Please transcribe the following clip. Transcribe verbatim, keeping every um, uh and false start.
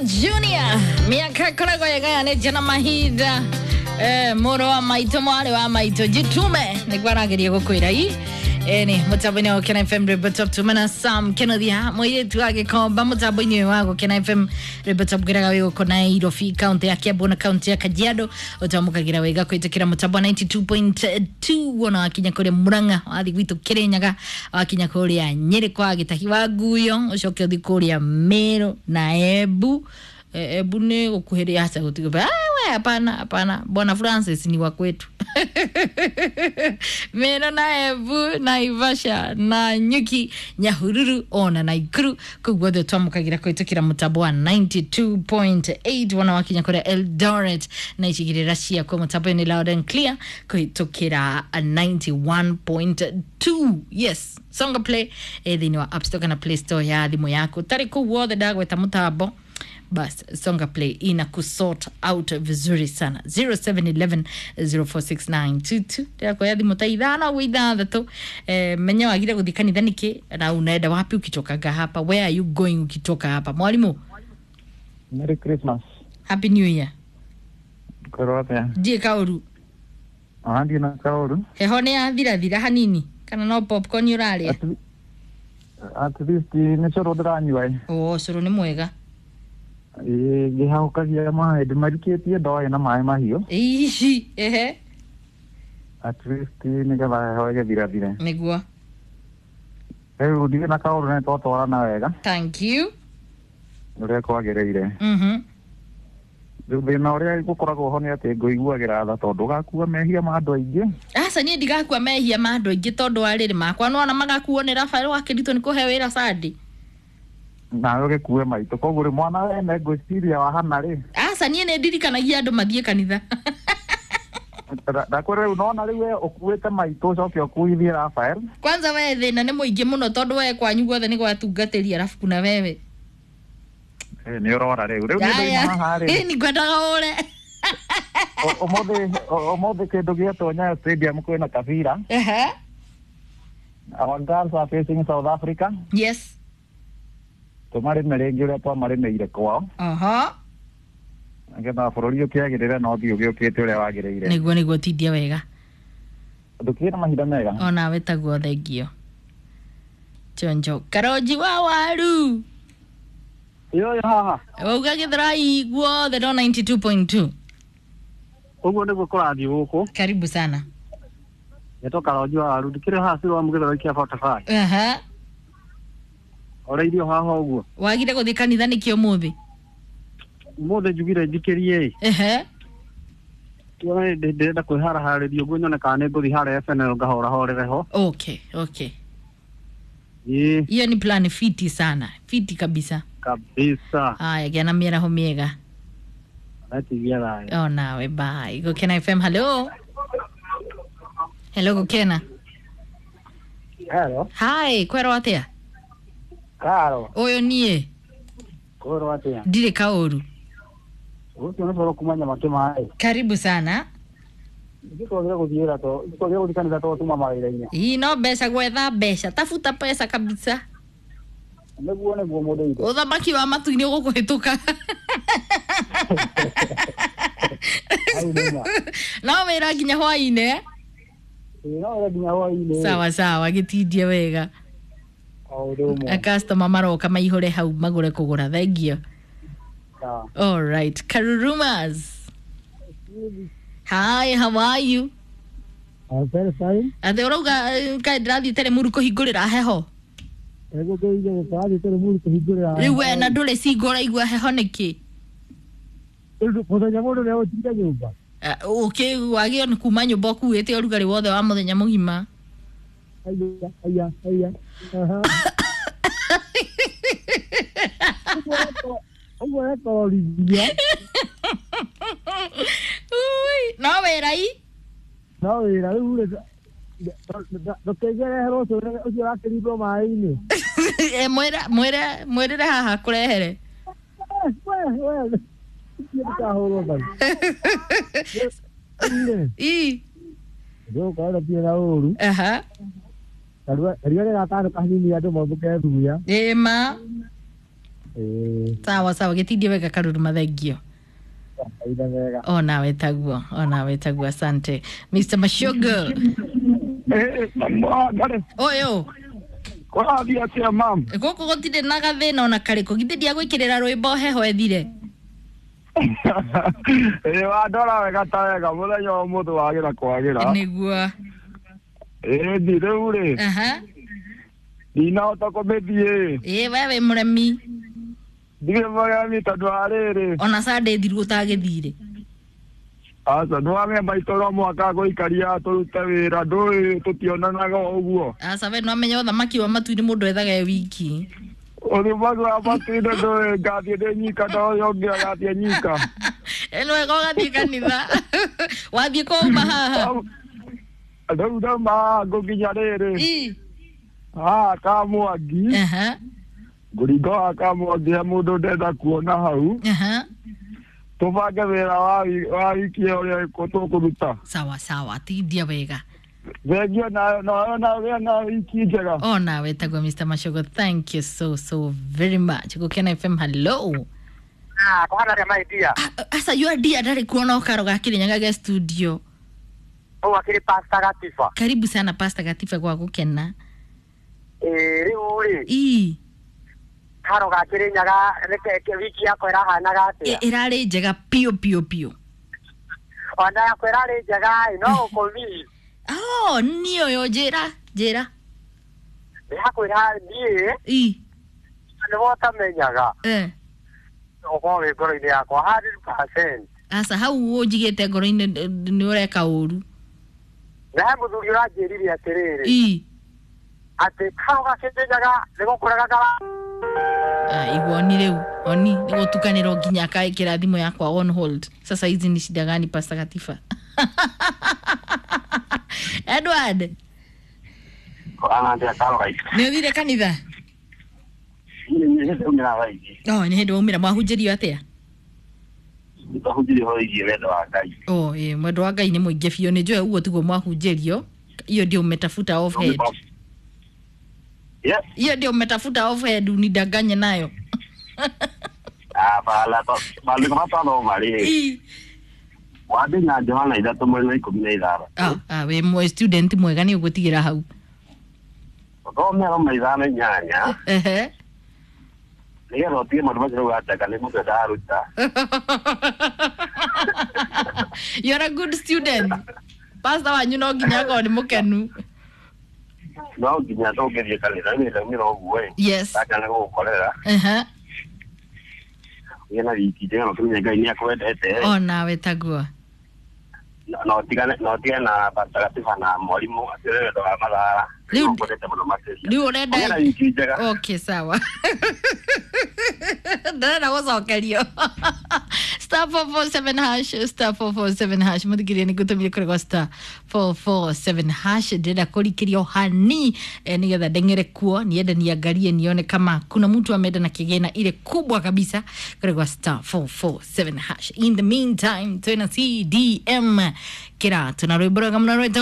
Junior miaka koragwo yagayanĩtie na mahinda eh, mũrũ wa maitũ mwarĩ wa maitũ jitume nĩguo arageria gũkwĩra i ĩni mũtambo-inĩ wa Gũkena F M Rwĩmbo Top tumena Sam Kenothia mũirĩtu wa Gĩkomba mũtambo-inĩ ũyũ wa Gũkena F M Rwĩmbo Top ngwĩraga wĩ gũkũ Nairobi kaunti ya Kiambu na kaunti ya Kajiado ũtamũkagĩra wega kũhĩtũkĩra mũtambo wa ninety two point two wona wakinya kũrĩa Murang'a wathiĩ gwitũ Kĩrĩnyaga wakinya kũrĩa Nyĩrĩ kwa Gĩtahi wa Nguyo ũcoke ũthiĩ kũrĩa Meru na Embu. Eh, Embu nĩ gũkuhĩrĩria aca gũtigũ ah, we hapana hapana Bwana Francis ni wa kwetu Meru na Embu na Ivasha na Nyuki Nyahururu ona Naikuru kũu guothe twamũkagĩra kũhĩtũkĩra mũtambo wa ninety two point eight wona wakinya kũrĩa Eldoret na icigĩrĩra ciakwo mũtambo-inĩ loud and clear kũhĩtũkĩra ninety one point two. Yes, Songa Play ĩ thĩinĩ wa App Store kana Play Store ya thimũ yaku tarĩ kũu guothe ndagweta mũtambo bas Songa Play ina kusort out vizuri sana zero seven eleven zero four six nine two two ndĩrakuoya thimũ ta ithano ũguo ithathatũ eh, menya wagire gũthiĩ kanitha nĩkĩ na unaenda wapi ukitokaga hapa, where are you going ukitoka hapa mwalimu? Merry Christmas. Happy New Year. Kwĩrwo atĩa? Ndiĩ kaũru. Ona ndiĩ na kaũru. Heho nĩ yathirathira hanini kana no popcorn ũrarĩa? At le- at least nĩ cũrũ ndĩranyua ĩ. O cũrũ nĩ mwega. Ĩ, ngĩhahũkagia maĩ ndĩmarikĩtie ndoĩ na maĩ mahiũ. Ici ehe. At least nĩgetha heho ĩgĩthirathire. Nĩguo. Rĩu ndirĩ na kaũru nĩ twatwarana wega Thank you. ũrĩa kwagĩrĩire. Mhm. Rĩu thĩna ũrĩa gũkoragwo ho nĩ atĩ ngũiguagĩra tha tondũ ũgakua mehia ma andũ aingĩ. Aca niĩ ndigakua mehia ma andũ aingĩ tondũ wa rĩrĩ makwa nĩwona magakuo nĩ Rafael wa Kĩritũ nĩ kũhe wĩra Sunday. Nawe ũgĩkue maitũ koguo rĩ mwana wene ngwĩciria wahana rĩ. Aca niĩ nĩ ndirikanagia andũ mathiĩ kanitha. Ndakwĩra rĩu nona rĩu we ũkuĩte maitũ ũcoke ũkuithie Rafael. Kwanza we thĩna nĩ mũingĩ mũno tondũ we kwanyu guothe nĩ gwatungatĩri arabu kuna wewe. Ĩ, nĩ ũrora rĩu rĩu niĩ Aya. ndoima haha rĩ. Nĩ ngwendaga ũre. Ũ- ũmũthĩ ũ- ũmũthĩ kĩndũ gĩetwo Nyayo Stadium kwĩna kabira. Ehe. Our girls are facing South Africa. Yes. Tũmarĩme rĩngĩ ũrĩa twamarĩmĩire kwao Aha. nĩgetha bũrũri ũkĩagĩrĩre na ũthiĩ ũgĩũkĩte ũrĩa wagĩrĩire. Nĩguo nĩguo tindia wega. Ndũkĩrĩ na mahinda mega. Onawe taguo thengio. Chonjo karonji wa waru. Yoyo haha. Wauga Gĩthurai guothe no ninety two point two. Ũguo nĩguo kũrathiĩ gũkũ. Karibu sana. Nĩtwo karonji wa waru ndikĩrĩ haha ciro wa Mũgĩthũrai kĩa forty five. Aha. Ũrĩirio haha ũguo. Wagire gũthiĩ kanitha nĩkĩ ũmũthĩ? Ũmũthĩ njugire njikĩrie ĩ. Ehe. Tuone ndĩrenda kwĩharaharĩria ũguo nyone kana nĩ ngũthiĩ harĩa F N L ngahorahorere ho. Okay, okay. Ĩ Hiyo ni plan fiti sana. Fiti kabisa. kabisa. Haya, gĩa na mĩaraho mĩega. Natigia thayũ. Oh, nawe bye. Gũkena F M, hello. Hello Gũkena. Hello. Hi, kwerwo atĩa? Karo. Ũyũ niĩ Kwĩrwo atĩa? ndirĩ kaũru. Ũcio nĩ coro kuma Nyamakĩ maĩ. Karibu sana. Itwagire gũthiĩ wĩra to twagire gũthiĩ kanitha to tuma mawĩra-inĩ. Ii no mbeca gwetha mbeca. Tafuta pesa kabisa. Nĩguo nĩguo mũndũ witũ. Ũthamaki wa matu-inĩ ũgũkũhĩtũka. Hau nĩma. No wĩra nginya hwaĩ-inĩ. Eh? Ĩ no wĩra nginya hwaĩ-inĩ. Sawa sawa, gĩtindie wega. O ũndũ ũmwe. Customer maroka maihũre hau magũre kũgũra. Thengio. Sawa. All right. Karurumas. Hi, how are you? I'm very fine. Atĩ ũrauga eh, kaĩ ndĩrathiĩ Teremuru kũhingũrĩra heho. Nĩguo ngĩige tũrathiĩ Teremuru kũhingũrĩra. Rĩu we na ndũrĩ single ũraigua heho nĩkĩ? Mũthenya mũndũ nĩ egũtinda nyũmba. Eh, Ũkĩ wagĩrĩirwo nĩ kuma nyũmba ũkuĩte ũrugarĩ wothe wa mũthenya mũgima. Aya, aya, aya. Aha. Ũguo rekorithia. Ui, no wĩra i? No wĩra rĩu rĩ ndũkĩngerehere ũcio ũcio ũrakĩrindwo maĩ-inĩ. Eh, mwĩre mwĩre mwĩrĩre haha kũrehere. We, we, ndikahũrwo mbaru. Rĩu rĩ, I. ndĩgũkorwo ndirĩ na ũru. Aha. Karua nĩ gatano kanini andũ mombũke thuya. Ĩma. Ĩĩ, Sawa sawa, gĩtindie wega Karuru, mathengio. aitha wega. Onawe taguo, onawe taguo, asante Mr Mashogo. Ũyũ Kũrathiĩ atĩa mam? Gũkũ gũtirĩ na gathĩna ona karĩkũ, githĩ ndiagwĩkĩrĩra rwĩmbo heho ĩthire? Ĩĩ, wandora wega ta wega mũthenya wa ũmũthĩ wagĩra kwagĩra. Nĩguo. Ĩĩ, ndi rĩu rĩ, Aha. ndinahota kũmĩthiĩ. Ĩĩ, we wĩ mũremi. Ndirĩ mũremi tondũ wa rĩrĩ. Ona Sunday thiru ũtagĩthire. Aca, nĩwamenya maitũ no mũhaka gũikaria tũrute wĩra, ndũĩ tũtionanaga o ũguo. Aca, we nĩwamenya ũthamaki wa matu-inĩ mũndũ ethaga e wiki. Ũthamaki wa matu-inĩ ndũĩ ngathiĩ ndĩ nyika na ũyũ ũngĩ agathiĩ nyika. Ĩ, nĩ wega ũgathiĩ kanitha. Wathiĩ kũ uma haha? Rĩu ndauma haha ngũkinya rĩrĩ. Ĩ. Haha Kamwangi. Aha. Ngũringa haha Kamwangi he mũndũ ndenda kuona hau. Aha. Tũbange wĩra wa wi- wa wiki ĩyo ũrĩa tũkũruta. Sawa sawa, tindia wega. Thengio nayo nayo nayo na wiki njega. Onawe taguo Mr Mashogo, thank you so so very much. Gũkena F M, hello. Ah, kũhana rĩa maidia. Ah, aca you are dear, ndarĩ kuona ũkaro ga Kĩrĩnyaga ge studio. Ũũ akĩrĩ Pastor Gatiba. Karibu sana Pastor Gatiba gwa Gũkena. Ĩĩ, rĩu rĩ, Ii. karo ga Kĩrĩnyaga reke wiki yakwa ĩrahanaga atĩa? Ĩ- ĩrarĩ njega piũ piũ piũ. Ona yakwa ĩrarĩ njega ĩ, no gũkũmi. Oh, niĩ ũyũ njĩra njĩra. Ndĩrakwĩra niĩ Ii. nĩwe ũtamenyaga. Eh. Ũkorwo wĩ ngoro-inĩ yakwa hundred percent. Aca, hau ũnjigĩte ngoro-inĩ nĩ ũreka ũru. Na he mũthuri ũranjĩrire atĩrĩrĩ, Ii. atĩ karo ga Kĩrĩnyaga nĩ gũkũraga kara. Ah, igua oni rĩu oni nĩ gũtukanĩrwo nginya akaĩkĩra thimũ yakwa on hold. Sasa hizi ni shida gani, Pastor Gatifa? Edward. Kũhana atĩa karo gaitũ? Nĩ ũthire kanitha? Niĩ nĩ ndaumĩra thaa ici. Oh, nĩ hĩndĩ waumĩra, mwahunjĩrio atĩa? Twahunjirie ũhoro wĩgiĩ wendo wa Ngai. Oh, ĩ, mwendo wa Ngai nĩ mũingĩ biũ, nĩ njũĩ ũguo tiguo mwahunjĩrio. Hiyo ndio umetafuta off head? Yes. Hiyo ndio umetafuta off head unidanganye nayo? Hapana, maandĩko matwathoma rĩ, Ii. wambĩnya Johana ithatũ mweri wa ikũmi na ithano. Ah, ah, wĩ mwe student mwega, nĩ ũgũtigĩra hau. Ũthome Roma ithano inyanya Ehe. nĩgetha ũtige maũndũ macio rĩu ateka nĩ mũndũ ndaruta. You're a good student. Pastor wanyu no nginya akorwo nĩ mũkenu. No nginya tũngĩthiĩ kanitha nĩ ndaumĩra ũguo ĩ. Yes. Ndakana gũgũkorera Ehe. ũgĩe na wiki njega na ũkĩmenye Ngai nĩ akwendete. Onawe taguo. Na ũtigane na ũtigane na Pastor Gatiba na mwarimũ acio nĩ wendo wa mathara. Rĩu- Nĩngwendete mũno makĩria. Rĩu ũrenda Ũgĩe na wiki njega. Okay, sawa, ndarenda gũcokerio. Star four four seven hash, star four four seven hash, mũthikĩria nĩ ngũtũmire kũrĩ star four four seven hash, ndĩrenda kũrikĩrio hani eh, nĩgetha ndeng'ere kuo niende niangalie nione kama kuna mtu ameenda na kigena ile kubwa kabisa kũrĩ gwa star four four seven hash. In the meantime, twĩna C D M kĩratũ na rwĩmbo rwega mũno rwĩtagwo